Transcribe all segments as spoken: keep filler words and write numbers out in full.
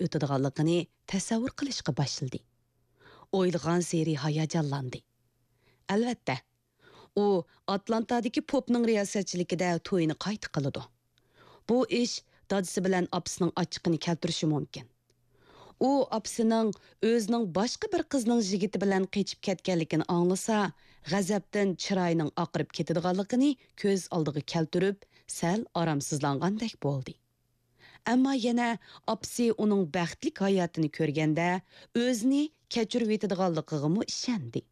ئۆتىدىغانلىقىنى تەسەۋۋۇر قىلىشقا باشلىدى. ئويلىغانسېرى ھاياجانلاندى. ئەلۋەتتە، ئۇ ئاتلانتادىكى پوپنىڭ رىياسەتچىلىكىدە تويىنى قايتا قىلىدۇ. بۇ ئىش دادىسى بىلەن ئاپىسىنىڭ ئاچچىقىنى كەلتۈرۈشى مۇمكىن. ئۇ ئاپىسىنىڭ ئۆزىنىڭ باشقا بىر قىزنىڭ يىگىتى بىلەن قېچىپ كەتكەنلىكىنى ئاڭلىسا، غەزەپتىن چىرايىنىڭ ئاقىرىپ كېتىدىغانلىقىنى كۆز ئالدىغا كەلتۈرۈپ، سەل ئارامسىزلانغاندەك بولدى. ئەمما يەنە ئاپىسى ئۇنىڭ بەختلىك ھاياتىنى كۆرگەندە، ئۆزىنى كەچۈرۈۋېتىدىغانلىقىغىمۇ ئىشەندى.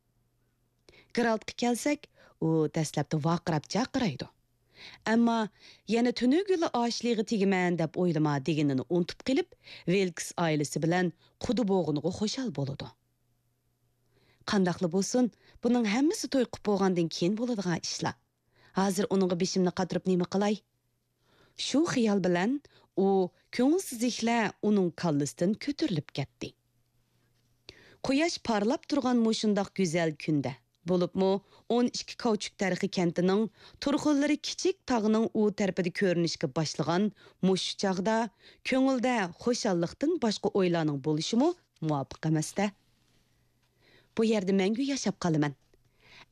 گېرالتقا كەلسەك، ئۇ دەسلەپتە ۋارقىراپ جارقىرايدۇ. ئەمما يەنە تۈنۈگۈنلا ئاشلىغا تېگىمەن دەپ ئويلىما دېگىنىنى ئۇنتۇپ قېلىپ، ۋىلكس ئائىلىسى بىلەن قۇدا بولغىنىغا خۇشال بولىدۇ. قانداقلا بولسۇن، بۇنىڭ ھەممىسى توي قىپ بولغاندىن كېيىن بولىدىغان ئىشلار. ھازىر ئۇنىڭغا بېشىمنى قاتۇرۇپ نېمە قىلاي؟ شۇ خىيال بىلەن ئۇ كۆڭۈلسىزلىكلەر ئۇنىڭ كاللىسىدىن كۆتۈرۈلۈپ كەتتى. قۇياش پارلاپ تۇرغان مۇشۇنداق گۈزەل كۈندە، بولۇپمۇ ئون ئىككى كاۋچۇك تەرىخى كەنتىنىڭ تۇرخۇنلىرى كىچىك تاغنىڭ ئۇ تەرىپىدە كۆرۈنۈشكە باشلىغان مۇشۇ چاغدا كۆڭۈلدە خۇشاللىقتىن باشقا ئويلارنىڭ بولۇشىمۇ مۇۋاپىق ئەمەستە. بۇ يەردە مەڭگۈ ياشاپ قالىمەن.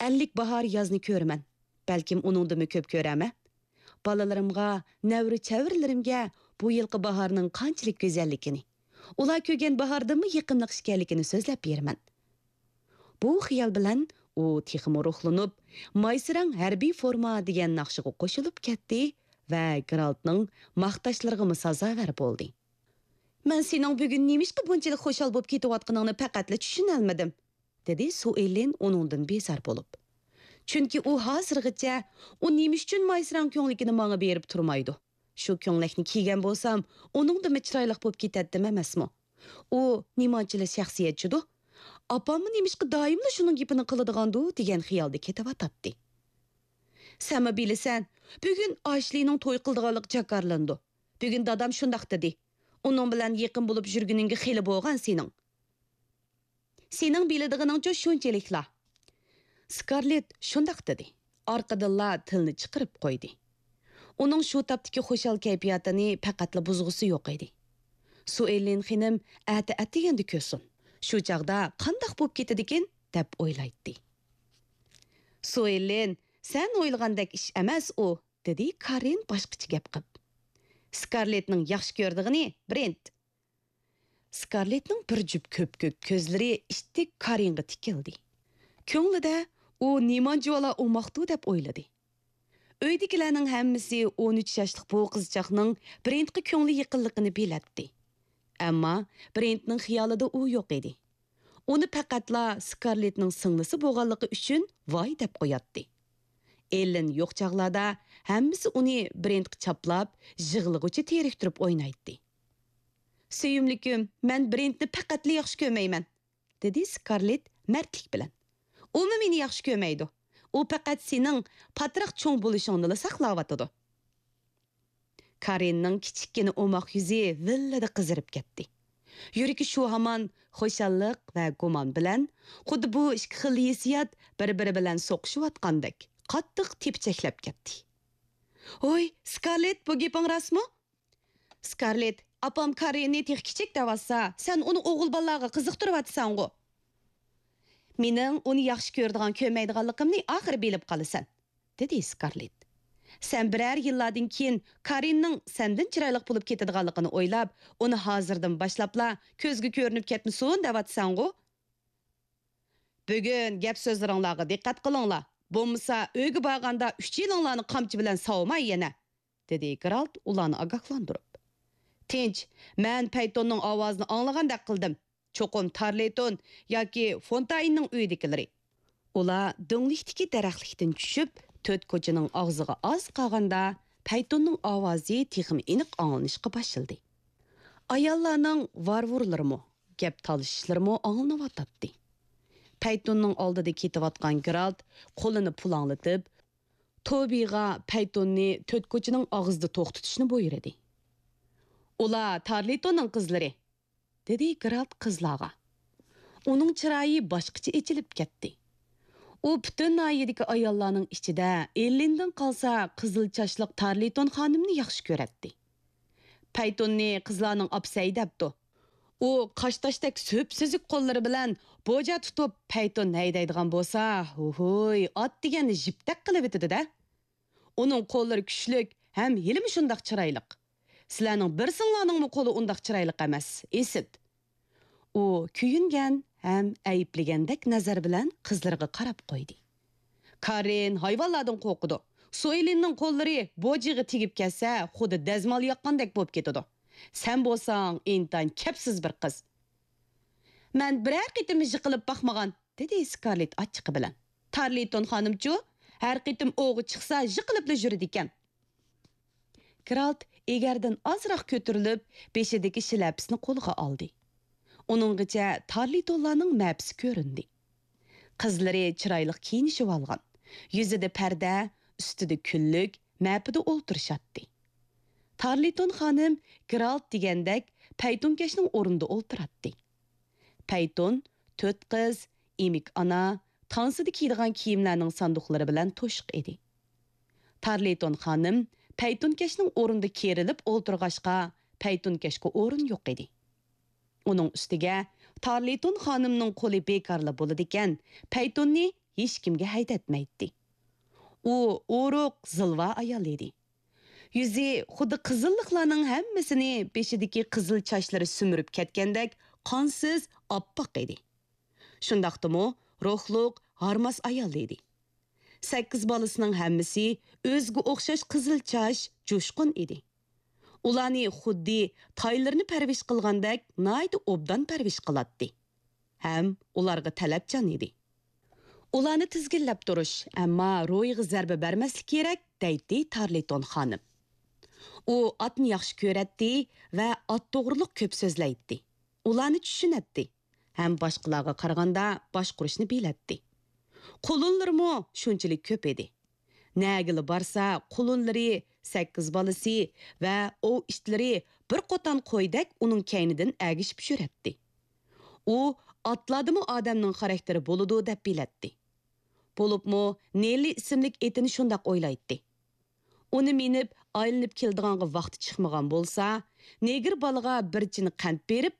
ئەللىك باھار يازنى كۆرىمەن. بەلكىم ئۇنىڭدىنمۇ كۆپ كۆرەرمەن. بالىلىرىمغا، نەۋرە-چەۋرىلىرىمگە بۇ يىلقى باھارنىڭ قانچىلىك گۈزەللىكىنى، ئۇلار كۆرگەن باھاردىنمۇ يېقىملىق ئىكەنلىكىنى سۆزلەپ بېرىمەن. بۇ خىيال بىلەن ئۇ تېخىمۇ روھلىنىپ، مايسىراڭ ھەربىي فورما دېگەن ناخشىغا قوشۇلۇپ كەتتى ۋە گېرالتنىڭ ماختاشلىرىغىمۇ سازاۋەر بولدى. مەن سېنىڭ بۈگۈن نېمىشقا بۇنچىلىك خۇشال بولۇپ كېتىۋاتقىنىڭنى پەقەتلا چۈشىنەلمىدىم، دېدى سۇئېللىن ئۇنىڭدىن بىزار بولۇپ. چۈنكى ئۇ ھازىرغىچە ئۇ نېمە ئۈچۈن مايسىراڭ كۆڭلىكىنى ماڭا بېرىپ تۇرمايدۇ؟ شۇ كۆڭلەكنى كىيگەن بولسام، ئۇنىڭدىنمۇ چىرايلىق بولۇپ كېتەتتىم ئەمەسمۇ؟ ئۇ نېمانچىلا شەخسىيەتچىدۇ؟ ئاپاممۇ نېمىشقا دائىملا شۇنىڭ گېپىنى قىلىدىغاندۇ دېگەن خىيالدا كېتىۋاتاتتى. سەنمۇ بىلىسەن، بۈگۈن ئاشلىنىڭ توي قىلىدىغانلىقى جاكارلىنىدۇ. بۈگۈن دادام شۇنداق دېدى. ئۇنىڭ بىلەن يېقىن بولۇپ يۈرگىنىڭگە خېلى بولغان سېنىڭ. سېنىڭ بىلىدىغىنىڭچۇ شۇنچىلىكلا. سكارلېت شۇنداق دېدى. ئارقىدىنلا تىلنى چىقىرىپ قويدى. ئۇنىڭ شۇ تاپتىكى خۇشال كەيپىياتىنى پەقەتلا بۇزغۇسى يوق ئىدى. سۇئېللىن خېنىم ئەتە ئەتىگەندە كۆرسۇن. شۇ چاغدا قانداق بولۇپ كېتىدىكىن دەپ ئويلايتتى. سۇئېللىن، سەن ئويلىغاندەك ئىش ئەمەس ئۇ، دېدى كارىن باشقىچە گەپ قىپ. سكارلېتنىڭ ياخشى كۆرىدىغىنى برېنت. سكارلېتنىڭ بىر جۈپ كۆپكۆك كۆزلىرى ئىتتىك كارىنغا تىكىلدى. كۆڭلىدە ئۇ نېمانچىۋالا ئوماقتۇ دەپ ئويلىدى. ئۆيدىكىلەرنىڭ ھەممىسى ئون ئۈچ ياشلىق بۇ قىزچاقنىڭ برېنتقا كۆڭلى يېقىنلىقىنى بىلەتتى. ئەمما برېنتنىڭ خىيالىدا ئۇ يوق ئىدى. ئۇنى پەقەتلا سكارلېتنىڭ سىڭلىسى بولغانلىقى ئۈچۈن ۋاي دەپ قوياتتى. ئېللېن يوق چاغلاردا ھەممىسى ئۇنى برېنتقا چاپلاپ، يىغلىغۇچە تېرىكتۈرۈپ ئوينايتتى. سۆيۈملۈكۈم، مەن برېنتنى پەقەتلا ياخشى كۆرمەيمەن، دېدى سكارلېت مەردلىك بىلەن. ئۇمۇ مېنى ياخشى كۆرمەيدۇ. ئۇ پەقەت سېنىڭ پاتراق چوڭ بولۇشۇڭنىلا ساقلاۋاتىدۇ. كارىننىڭ كىچىككىنە ئوماق يۈزى ۋىللىدە قىزىرىپ كەتتى. يۈرىكى شۇ ھامان خۇشاللىق ۋە گۇمان بىلەن، خۇددى بۇ ئىككى خىل ھېسسىيات بىر-بىرى بىلەن سوقۇشۇۋاتقاندەك، قاتتىق تېپىچەكلەپ كەتتى. ھوي، سكارلېت، بۇ گېپىڭ راستمۇ؟ سكارلېت، ئاپام كارىننى تېخى كىچىك دەۋاتسا، سەن ئۇنى ئوغۇل بالىلارغا قىزىقتۇرۇۋاتىسەنغۇ؟ مېنىڭ ئۇنى ياخشى كۆرىدىغان، كۆرمەيدىغانلىقىمنى ئاخىرى بىلىپ قالىسەن، دېدى سكارلېت. سەن بىرەر يىللاردىن كېيىن كارىننىڭ سەندىن چىرايلىق بولۇپ كېتىدىغانلىقىنى ئويلاپ، ئۇنى ھازىردىن باشلاپلا كۆزگە كۆرۈنۈپ كەتمىسۇن دەۋاتىسەنغۇ؟ بۈگۈن گەپ سۆزلىرىڭلارغا دىققەت قىلىڭلار، بولمىسا ئۆيگە بارغاندا ئۈچىيىلىڭلارنى قامچا بىلەن ساۋىماي يەنە، دېدى گېرالت ئۇلارنى ئاگاھلاندۇرۇپ. تىنچ، مەن پەيتوننىڭ ئاۋازىنى ئاڭلىغاندەك قىلدىم. چوقۇم تارلېيتون ياكى فونتايننىڭ ئۆيىدىكىلىرى. ئۇلار دۆڭلۈكتىكى دەرەخلىكتىن چۈشۈپ، تۆت كوچىنىڭ ئاغزىغا ئاز قالغاندا، پەيتوننىڭ ئاۋازى تېخىمۇ ئېنىق ئاڭلىنىشقا باشلىدى. ئاياللارنىڭ ۋارۋۇرلىرىمۇ، گەپ تالىشىشلىرىمۇ ئاڭلىنىۋاتاتتى. پەيتوننىڭ ئالدىدا كېتىۋاتقان گېرالت قولىنى پۇلاڭلىتىپ، توبىغا پەيتوننى تۆت كوچىنىڭ ئاغزىدا توختىتىشنى بۇيرۇدى. ئۇلار تارلىتوننىڭ قىزلىرى، دېدى گېرالت قىزلارغا. ئۇنىڭ چىرايى باشقىچە ئېچىلىپ كەتتى. ئۇ پۈتۈن ناھىيەدىكى ئاياللارنىڭ ئىچىدە ئېللىندىن قالسا قىزىل چاچلىق تارلىتون خانىمنى ياخشى كۆرەتتى. پەيتوننى قىزلارنىڭ ئاپىسى ھەيدەپتۇ. ئۇ قاشتاشتەك سۈپسۈزۈك قوللىرى بىلەن بوجا تۇتۇپ پەيتون ھەيدەيدىغان بولسا، ھوھۇي، ئات دېگەننى ژىپتەك قىلىۋېتىدۇ-دە. ئۇنىڭ قوللىرى كۈچلۈك ھەم ھېلىمۇ شۇنداق چىرايلىق. سىلەرنىڭ بىرسىڭلارنىڭمۇ قولى ئۇنداق چىرايلىق ئەمەس، ئىسىت. ئۇ كۆيۈنگەن ھەم ئەيىبلىگەندەك نەزەر بىلەن قىزلىرىغا قاراپ قويدى. كارىن ھايۋانلاردىن قورقىدۇ. سويلىننىڭ قوللىرى بوجىغا تېگىپ كەتسە، خۇددى دەزمال ياققاندەك بولۇپ كېتىدۇ. سەن بولساڭ ئىنتايىن كەپسىز بىر قىز. مەن بىرەر قېتىم يىقىلىپ باقمىغان، دېدى سكارلېت ئاچچىقى بىلەن. تارلىتون خانىمچۇ، ھەر قېتىم ئوۋغا چىقسا يىقىلىپلا يۈرىدىكەن. گېرالت ئېگەردىن ئازراق كۆتۈرۈلۈپ، بېشىدىكى شىلەپىسىنى قولىغا ئالدى. ئۇنىڭغىچە تارلىتونلارنىڭ مەپىسى كۆرۈندى. قىزلىرى چىرايلىق كىيىنىشىۋالغان. يۈزىدە پەردە، ئۈستىدە كۈنلۈك، مەپىدە ئولتۇرۇشاتتى. تارلىتون خانىم گېرالت دېگەندەك پەيتۇنكەشنىڭ ئورنىدا ئولتۇراتتى. پەيتۇن، تۆت قىز، ئېمىك ئانا، تانسىدا كىيىدىغان كىيىملەرنىڭ ساندۇقلىرى بىلەن توشۇق ئىدى. تارلىتون خانىم پەيتۇنكەشنىڭ ئورنىدا كېرىلىپ ئولتۇرغاچقا، پەيتۇنكەشكە ئورۇن يوق ئىدى. ئۇنىڭ ئۈستىگە تارلىتون خانىمنىڭ قولى بىكارلا بولىدىكەن، پەيتۇننى ھېچكىمگە ھەيدەتمەيتتى. ئۇ ئورۇق، زىلۋا ئايال ئىدى. يۈزى خۇددى قىزىللىقلارنىڭ ھەممىسىنى بېشىدىكى قىزىل چاچلىرى سۈمۈرۈپ كەتكەندەك قانسىز ئاپئاق ئىدى. شۇنداقتىمۇ روھلۇق، ھارماس ئايال ئىدى. سەككىز بالىسىنىڭ ھەممىسى ئۆزىگە ئوخشاش قىزىل چاچ، جۇشقۇن ئىدى. ئۇلارنى خۇددى تايلىرىنى پەرۋىش قىلغاندەك ناھايىتى ئوبدان پەرۋىش قىلاتتى. ھەم ئۇلارغا تەلەپچان ئىدى. ئۇلارنى تىزگىنلەپ تۇرۇش، ئەمما روھىغا زەربە بەرمەسلىك كېرەك، دەيتتى تارلىتون خانىم. ئۇ ئاتنى ياخشى كۆرەتتى ۋە ئات توغرۇلۇق كۆپ سۆزلەيتتى. ئۇلارنى چۈشىنەتتى ھەم باشقىلارغا قارىغاندا باشقۇرۇشنى بىلەتتى. قۇلۇنلىرىمۇ شۇنچىلىك كۆپ ئىدى. نەگىلا بارسا، قۇلۇنلىرى، سەككىز بالىسى ۋە ئوۋ ئىتلىرى بىر قوتان قويدەك ئۇنىڭ كەينىدىن ئەگىشىپ يۈرەتتى. ئۇ ئاتلاردىمۇ ئادەمنىڭ خاراكتېرى بولىدۇ دەپ بىلەتتى. بولۇپمۇ نېللى ئىسىملىك ئېتىنى شۇنداق ئويلايتتى. ئۇنى مىنىپ ئايلىنىپ كېلىدىغانغا ۋاقتى چىقمىغان بولسا، نېگىر بالىغا بىر چىنە قەنت بېرىپ،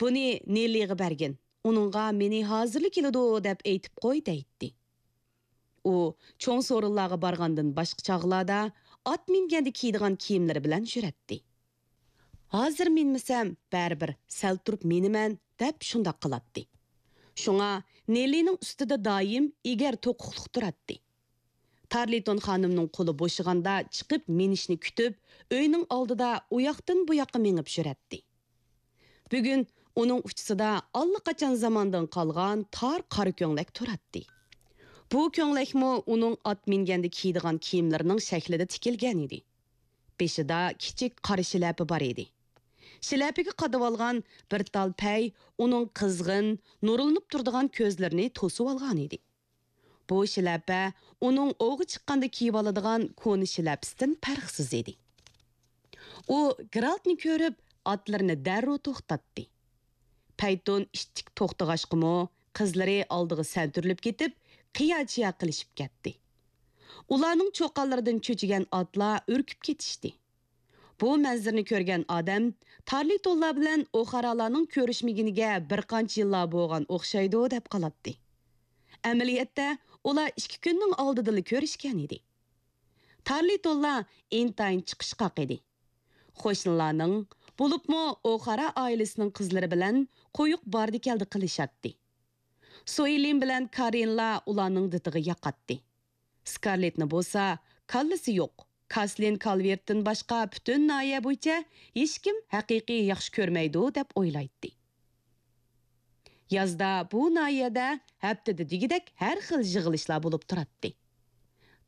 بۇنى نېللىغا بەرگىن، ئۇنىڭغا مېنى ھازىرلا كېلىدۇ دەپ ئېيتىپ قوي دەيتتى. ئۇ چوڭ سورۇنلارغا بارغاندىن باشقا چاغلاردا ئات مىنگەندە كىيىدىغان كىيىملىرى بىلەن يۈرەتتى. ھازىر مىنمىسەم بەرىبىر سەل تۇرۇپ مىنىمەن دەپ شۇنداق قىلاتتى. شۇڭا نېللىنىڭ ئۈستىدە دائىم ئېگەر توقۇقلۇق تۇراتتى. تارلىتون خانىمنىڭ قولى بوشىغاندا چىقىپ مىنىشنى كۈتۈپ، ئۆينىڭ ئالدىدا ئۇياقتىن بۇياققا مېڭىپ يۈرەتتى. بۈگۈن ئۇنىڭ ئۇچىسىدا ئاللىقاچان زاماندىن قالغان تار قارا كۆڭلەك تۇراتتى. بۇ كۆڭلەكمۇ ئۇنىڭ ئات مىنگەندە كىيىدىغان كىيىملىرىنىڭ شەكلىدە تىكىلگەن ئىدى. بېشىدا كىچىك قارا شىلەپە بار ئىدى. شىلەپىگە قادىۋالغان بىر تال پەي ئۇنىڭ قىزغىن، نۇرلىنىپ تۇرىدىغان كۆزلىرىنى توسۇۋالغان ئىدى. بۇ شىلەپە ئۇنىڭ ئوۋغا چىققاندا كىيىۋالىدىغان كونا شىلەپىسىدىن پەرقسىز ئىدى. ئۇ گېرالتنى كۆرۈپ، ئاتلىرىنى دەررۇ توختاتتى. پەيتۇن ئىتتىك توختىغاچقىمۇ، قىزلىرى ئالدىغا سەنتۈرۈلۈپ كېتىپ، قىيا-چىيا قىلىشىپ كەتتى. ئۇلارنىڭ چۇقانلىرىدىن چۆچۈگەن ئاتلار ئۈركۈپ كېتىشتى. بۇ مەنزىرىنى كۆرگەن ئادەم تارلىتونلار بىلەن ئوخارالارنىڭ كۆرۈشمىگىنىگە بىر قانچە يىللار بولغان ئوخشايدۇ دەپ قالاتتى. ئەمەلىيەتتە ئۇلار ئىككى كۈننىڭ ئالدىدىلا كۆرۈشكەن ئىدى. تارلىتونلار ئىنتايىن چىقىشقاق ئىدى. قوشنىلارنىڭ، بولۇپمۇ ئوخارا ئائىلىسىنىڭ قىزلىرى بىلەن قويۇق باردى-كەلدى قىلىشاتتى. سويلىن بىلەن كارىنلا ئۇلارنىڭ دىتىغا ياقاتتى. سكارلېتنى بولسا كاللىسى يوق، كاسلىن كالۋېرتتىن باشقا پۈتۈن ناھىيە بويىچە ھېچكىم ھەقىقىي ياخشى كۆرمەيدۇ دەپ ئويلايتتى. يازدا بۇ ناھىيەدە ھەپتىدە دېگۈدەك ھەر خىل يىغىلىشلار بولۇپ تۇراتتى.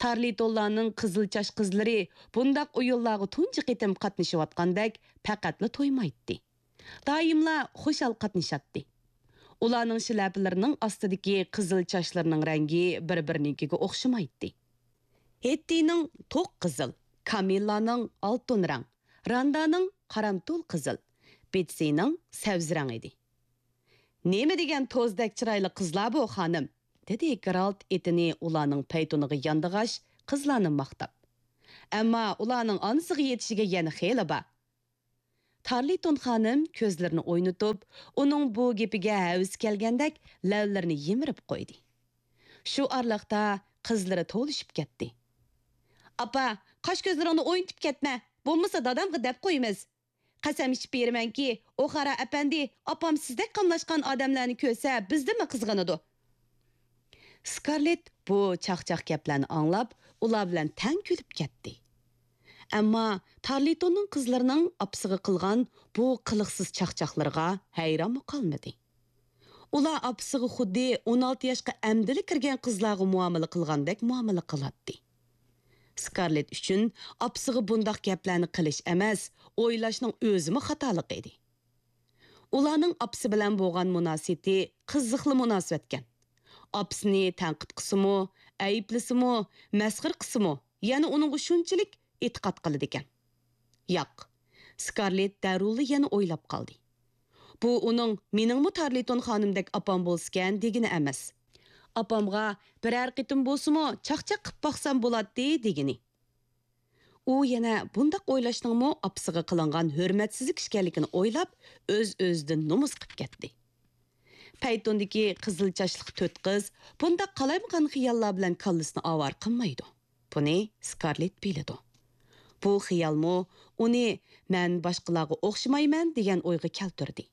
تارلىتونلارنىڭ قىزىل چاچ قىزلىرى بۇنداق ئويۇنلارغا تۇنجى قېتىم قاتنىشىۋاتقاندەك پەقەتلا تويمايتتى. دائىملا خۇشال قاتنىشاتتى. ئۇلارنىڭ شىلەپىلىرىنىڭ ئاستىدىكى قىزىل چاچلىرىنىڭ رەڭگى بىر-بىرىنىڭكىگە ئوخشىمايتتى. ھېتتىنىڭ توق قىزىل، كامىللانىڭ ئالتۇن رەڭ، راندانىڭ قارامتۇل قىزىل، بېتسىنىڭ سەۋزە رەڭ ئىدى. «نېمە دېگەن توزدەك چىرايلىق قىزلار بۇ، خانىم!» دېدى گېرالت ئېتىنى ئۇلارنىڭ پەيتۇنىغا ياندىغاچ، قىزلارنى ماختاپ. «ئەمما ئۇلارنىڭ ئانىسىغا يېتىشىگە يەنە خېلى بار.» تارلىتون خانىم كۆزلىرىنى ئوينىتىپ، ئۇنىڭ بۇ گېپىگە ھەۋىسى كەلگەندەك لەۋلىرىنى يىمىرىپ قويدى. شۇ ئارىلىقتا قىزلىرى توۋلىشىپ كەتتى. «ئاپا، قاش-كۆزلىرىڭنى ئوينىتىپ كەتمە، بولمىسا دادامغا دەپ قويىمىز. قەسەم ئىچىپ بېرىمەنكى، ئوخارا ئەپەندى، ئاپام سىزدەك قاملاشقان ئادەملەرنى كۆرسە، بىزدىنمۇ قىزغىنىدۇ.» سكارلېت بۇ چاقچاق گەپلەرنى ئاڭلاپ، ئۇلار بىلەن تەڭ كۈلۈپ كەتتى. ئەمما تارلىتوننىڭ قىزلىرىنىڭ ئاپىسىغا قىلغان بۇ قىلىقسىز چاقچاقلىرىغا ھەيرانمۇ قالمىدى. ئۇلار ئاپىسىغا خۇددى ئون ئالتە ياشقا ئەمدىلا كىرگەن قىزلارغا مۇئامىلە قىلغاندەك مۇئامىلە قىلاتتى. سكارلېت ئۈچۈن ئاپىسىغا بۇنداق گەپلەرنى قىلىش ئەمەس، ئويلاشنىڭ ئۆزىمۇ خاتالىق ئىدى. ئۇلارنىڭ ئاپىسى بىلەن بولغان مۇناسىۋىتى قىزىقلا مۇناسىۋەتكەن. ئاپىسىنى تەنقىد قىلسىمۇ، ئەيىبلىسىمۇ، مەسخىرە قىلسىمۇ، يەنە ئۇنىڭغا شۇنچىلىك ئېتىقاد قىلىدىكەن. ياق، سكارلېت دەررۇلا يەنە ئويلاپ قالدى. بۇ ئۇنىڭ «مېنىڭمۇ تارلىتون خانىمدەك ئاپام بولسىكەن» دېگىنى ئەمەس. «ئاپامغا بىرەر قېتىم بولسىمۇ چاقچاق قىپ باقسام بولاتتى» دېگىنى. ئۇ يەنە بۇنداق ئويلاشنىڭمۇ ئاپىسىغا قىلىنغان ھۆرمەتسىزلىك ئىكەنلىكىنى ئويلاپ، ئۆز-ئۆزىدىن نومۇس قىپ كەتتى. پەيتۇندىكى قىزىل چاچلىق تۆت قىز بۇنداق قالايمىقان خىياللار بىلەن كاللىسىنى ئاۋارە قىلمايدۇ. بۇنى سكارلېت بىلىدۇ. بۇ خىيالمۇ ئۇنى «مەن باشقىلارغا ئوخشىمايمەن» دېگەن ئويغا كەلتۈردى.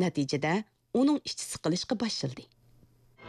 نەتىجىدە ئۇنىڭ ئىچى سىقىلىشقا باشلىدى.